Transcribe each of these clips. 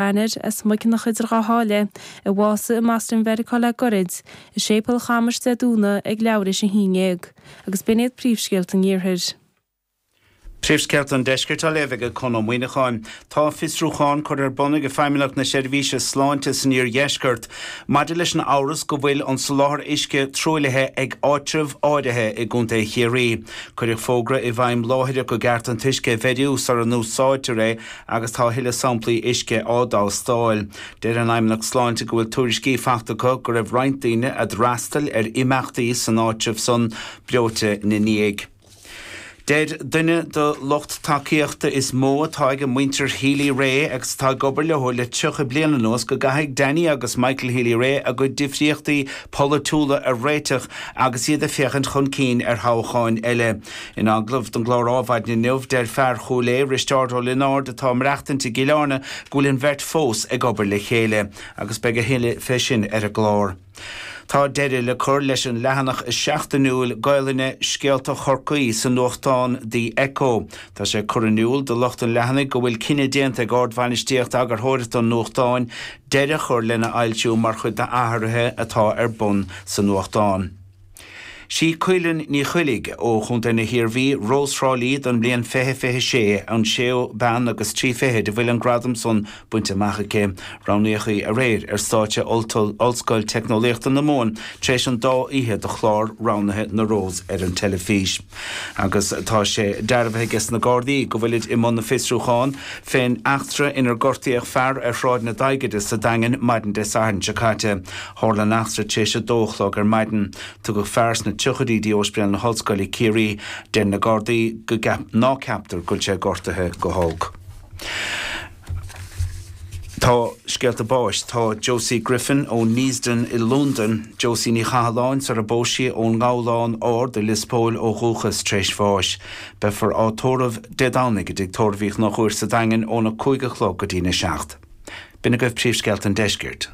Eanáir, as Muiceanach idir Dhá Sháile, a bhásaigh i mBoston Mheiriceá le goirid, i Séipéal Chamais Dé Domhnaigh ag leathuair théis a 11, agus b'in iad príomhscéalta an Iarthair. Príomhscéalta an Deiscirt á léamh ag Con Ó Muíneacháin. Tá fiosrúchán curtha ar bun ag Feidhmeannacht na Seirbhíse Sláinte san Iardheisceart maidir leis an amhras go bhfuil an soláthar uisce truaillithe ag áitribh áirithe i gContae Chiarraí. Cuireadh fógra i bhfeidhm láithreach go gceart an t-uisce a bheiriú sara n-úsáidtear é agus tá a thuilleadh samplaí uisce á dtástáil. Deir an Fheidhmeannacht Sláinte go bhfuil tuairiscí faighte acu go raibh roinnt daoine a d'fhreastail ar imeachtaí san áitreabh san breoite ina ndiaidh. Deir duine de lucht tacaíochta is mó atá ag muintir Healy-Rae agus atá ag obair leo le 30 bliain anuas go gcaithfidh Danny agus Michael Healy-Rae a gcuid difríochtaí polaitiúla a réiteach agus iad ag féachaint chun cinn ar thoghcháin eile. In agallamh don gclár Ádhmhaidin inniu, deir fear Chúil Aodha, Risteárd Ó Lionáird, atá ag maireachtaint i gCill Airne, go bhfuil an bheirt fós ag obair le chéile, agus beidh a thuilleadh fé sin ar an gclár. Tá deireadh le cur leis an leathanach seachtainiúil Gaelainne Scéalta Chorcaí sa nuachtán The Echo. Tá sé curtha in iúl do lucht an leathanaigh go bhfuil cinneadh déanta ag ardbhainistíocht eagarthóireachta an nuachtáin deireadh a chur lena fhoilsiú mar chuid d'athruithe atá ar bun sa nuachtán. Sí Caoilinn Ní Choiligh ó Chontae na hIarmhí, Rós Thrá Lí don mbliain 2026, an séú bean agus 30 a bhfuil an gradam san bainte amach aici. Roghnaíodh í aréir ar stáitse Ollscoil Teicneolaíochta na Mumhan tar éis an dá oíche de chlár roghnaithe na Rós ar an teilifís. Agus tá sé dearbhaithe aige sna Gardaí go bhfuilid i mbun na fiosrúchán fén eachtra inar gortaíodh fear ar Shráid na Daighide sa Daingean maidin Dé Sathairn seo caite. Tharla an eachtra tar éis a dó a chlog ar maidin. Tugadh fear sna tríochaidí dtí Ospidéal na hOllscoile, Ciarraí. Deir na Gardaí go ná ceaptar go bhfuil sé gortaithe go holc. Tá scéalta báis. Tá Josie Griffin ó Neasden i Londain, Josie Ní Chathalláin sar a bpós sí ón nGabhlán Ard i Lios Póil ó dhúchas, tar éis bháis. Beifear á tórramh Dé Domhnaigh i dTigh Tórraimh Uí Chonchúir sa Daingean óna 5 a chlog go dtína 7. B'in agaibh príomhscéalta an deiscirt.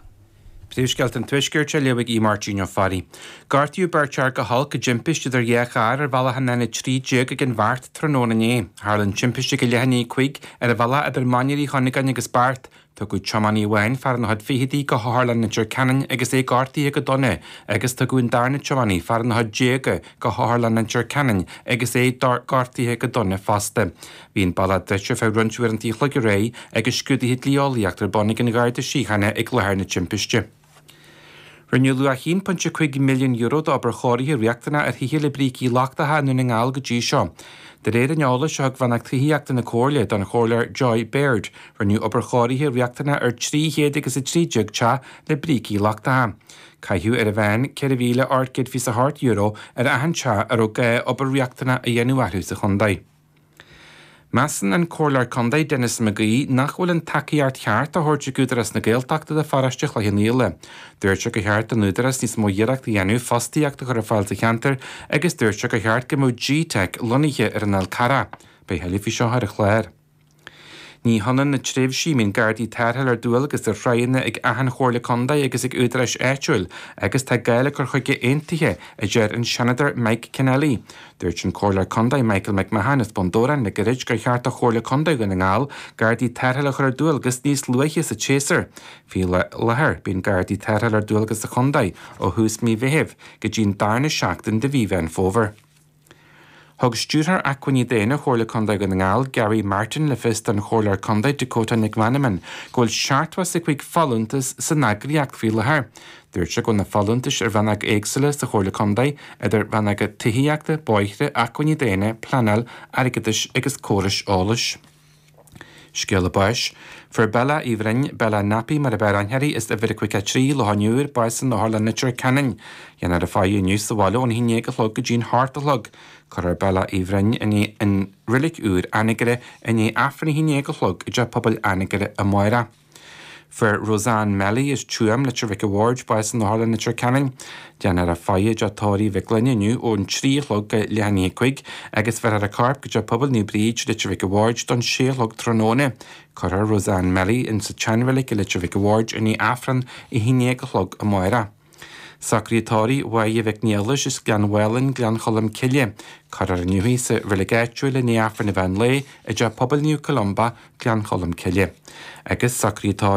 Príomhscéalta an Tuaiscirt á léamh ag Aodh Máirtín Ó Fearraigh. Gortaíodh beirt fhear go holc i dtimpiste idir dhá charr ar bhealach an N13 ag an Bheart tráthnóna inné. Tharla an timpiste ag a leath i ndiaidh a 5 ar an bhealach idir Mainír Uí Chuinneagáin agus Beart. Tugadh tiománaí amháin, fear ina chuid fichidí, go hOtharlann Leitir Ceanainn agus é gortaithe go dona agus tugadh an darna tiománaí, fear ina chuid déaga, go hOtharlann Leitir Ceanainn agus é gortaithe go dona fosta. Bhí an bealach druidte ar feadh roinnt uaireanta an chloig aréir agus scrúduithe dlí-eolaíochta ar bun ag an Gharda Síochána ag láthair na timpiste. Rinneadh luach €1.5 milliún d'obair chóirithe riachtanach ar thithe le brící lochtacha i nDún na nGall go dtí seo. De réir an eolais a thug Rannóg Tithíochta na Comhairle don Chomhairleoir Joy Baird, rinneadh obair chóirithe riachtanach ar 313 teach le brící lochtacha. Caitheadh ar an mheán €4,828 ar achan teach a raibh gá obair riachtanach a dhéanamh orthu sa chontae. Measann an Comhairleoir Contae Denis McGee nach bhfuil an tacaíocht cheart á thabhairt ag Údarás na Gaeltachta do pharóiste Chloich Cheann Fhaola. Dúirt sé gur cheart don Údarás níos mó iarracht a dhéanamh fostaíocht a chur ar fáil sa cheantar agus dúirt sé gur cheart go mbeadh G-Teic lonnaithe ar an Fhál Carrach. Beidh a thuilleadh faoi seo ar an chlár. Ní hionann na tréimhsí a mbíonn Gardaí tarrthála ar dualgas ar thráigheanna ag achan Chomhairle Contae agus ag údaráis áitiúil agus tá gá le cur chuige aontaithe, a deir an Seanadóir Mike Kennelly. Dúirt an Comhairleoir Contae Michael McMahon as Bun Dobhráin le gairid gur cheart do Chomhairle Contae Dhún na nGall Gardaí tarrthála a chur ar dualgas níos luaithe sa tséasúr. Faoi láthair, bíonn Gardaí tarrthála ar dualgas sa chontae ó thús mí Mheithimh go dtí an darna seachtain de mhí Mheán Fómhair. Thug Stiúrthóir Acmhainní Daonna Chomhairle Contae Dhún na nGall, Gary Martin, le fios don Chomhairleoir Contae Dakota Nic Mheanman go bhfuil 75 folúntas san eagraíocht faoi láthair. Dúirt sé go bhfuil na folúntais i rannóga éagsúla sa Chomhairle Contae, idir rannóga tithíochta, bóithre, acmhainní daonna, pleanáil, airgeadais agus córais eolais. Scéala báis. Fuair Bella Uí Bhroin, Bella Nappy mar ab fhearr aithne uirthi, as uimhir a 53, Loch an Iúir, bás in Otharlann Leitir Ceanainn. Déanfar a faire inniu sa bhaile ón 11 a chlog go dtí'n 8 a chlog. Cuirfear Bella Uí Bhroin i reilig úr Anagaire i ndiaidh Aifreann a 11 a chlog i dTeach Pobail Anagaire amárach. Fuair Roseanne Melly as Tuaim, Leitir Mhic a' Bhaird, bás in Otharlann Leitir Ceanainn. Déanfar a faire i dTeach Tórraimh Mhic Gloinn inniu ón 3 a chlog go leath i ndiaidh a 5 agus bheirfear a corp go Teach Pobail Naomh Bríd, Leitir Mhic a' Bhaird don 6 a chlog tráthnóna. Cuirfear Roseanne Melly insa tseanreilig i Leitir Mhic a' Bhaird i ndiaidh Aifreann a 11 a chlog amárach. Socruithe tórraimh Mháire Mhic Niallais as Gleann Mhálainn, Gleann Cholm Cille. Cuirfear inniu í sa reilig áitiúil i ndiaidh Aifreann an mheán lae i dTeach Pobail Naomh Columba, Gleann Cholm Cille. Agus socruithe tórraimh.